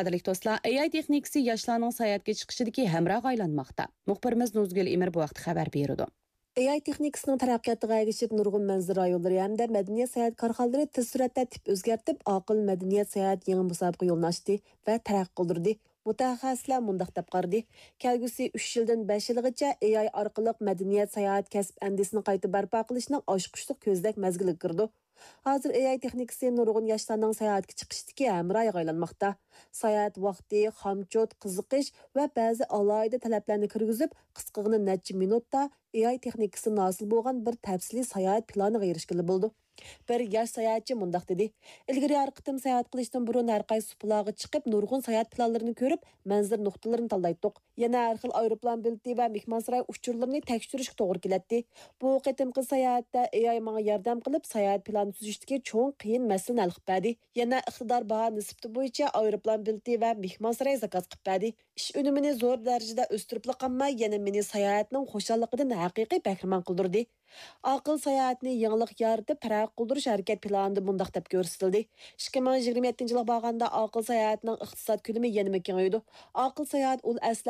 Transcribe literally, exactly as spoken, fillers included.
قەدىرلىك دوستلار، ئېي ئاي تېخنىكىسى ياشلارنىڭ ساياھەتكە چىقىشىدىكى ھەمراھقا ئايلانماقتا. مۇخبىرىمىز نۇزگۈل ئىمىر بۇ ھەقتە خەۋەر بېرىدۇ. ئېي ئاي تېخنىكىسىنىڭ تەرەققىياتىغا ئەگىشىپ، نۇرغۇن مەنزىرە رايونلىرى ھەمدە مەدەنىيەت ساياھەت كارخانىلىرى تېز سۈرئەتتە تىپ ئۆزگەرتىپ، ئاقىل مەدەنىيەت ساياھەت يېڭى مۇسابىقە يولىنى ئاچتى ۋە تەرەققىي قىلدۇردى. مۇتەخەسسىسلەر مۇنداق دەپ قارىدى، كەلگۈسى ئۈچ يىلدىن بەش يىلغىچە ئېي ئاي ئارقىلىق مەدەنىيەت ساياھەت كەسىپ ئەندىزىسىنى قايتا بەرپا قىلىشنىڭ ئاچقۇچلۇق كۆزنەك مەزگىلىگە كىرىدۇ. ھازىر ئېي ئاي تېخنىكىسى نۇرغۇن ياشلارنىڭ ساياھەتكە چىقىشىدىكى ھەمراھىغا ئايلانماقتا. ساياھەت ۋاقتى، خامچوت، قىزىقىش ۋە بەزى ئالاھىدە تەلەپلەرنى كىرگۈزۈپ، قىسقىغىنا نەچچە مىنۇتتا ئېي ئاي تېخنىكىسىدىن ھاسىل بولغان بىر تەپسىلىي ساياھەت پىلانىغا ئېرىشكىلى بولىدۇ. بىر ياش ساياھەتچى مۇنداق دېدى، ئىلگىرى ھەر قېتىم ساياھەت قىلىشتىن بۇرۇن ھەر قايسى سۇپىلارغا چىقىپ، نۇرغۇن ساياھەت پىلانلىرىنى كۆرۈپ، مەنزىرە نۇقتىلىرىنى تاللايتتۇق. يەنە ھەر خىل ئايروپىلان بېلىتى ۋە مېھمانساراي ئۇچۇرلىرىنى تەكشۈرۈشكە توغرا كېلەتتى. بۇ قېتىمقى ساياھەتتە ئېي ئاي ماڭا ياردەم قىلىپ، ساياھەت پىلانى تۈزۈشتىكى چوڭ قىيىن مەسىلىنى ھەل قىلىپ بەردى. يەنە ئىقتىدار باھا نىسبىتى بويىچە ئايروپىلان بېلىتى ۋە مېھمانساراي زاكاز قىلىپ بەردى. ئىش ئۈنۈمىنى زور دەرىجىدە ئۆستۈرۈپلا قالماي، يەنە مېنى ساياھەتنىڭ خۇشاللىقىدىن ھەقىقىي بەھرىمەن قىلدۇردى. ئاقىل ساياھەتنى يېڭىلىق يارىتىپ، تەرەققىي قىلدۇرۇش ھەرىكەت پىلانىدا مۇنداق دەپ كۆرسىتىلدى، ئىككى مىڭ يىگىرمە يەتتىنچى يىلغا بارغاندا ئاقىل ساياھەتنىڭ ئىقتىساد كۆلىمى يەنىمۇ كېڭىيىدۇ. ئاقىل ساياھەت ئۇل ئەسلى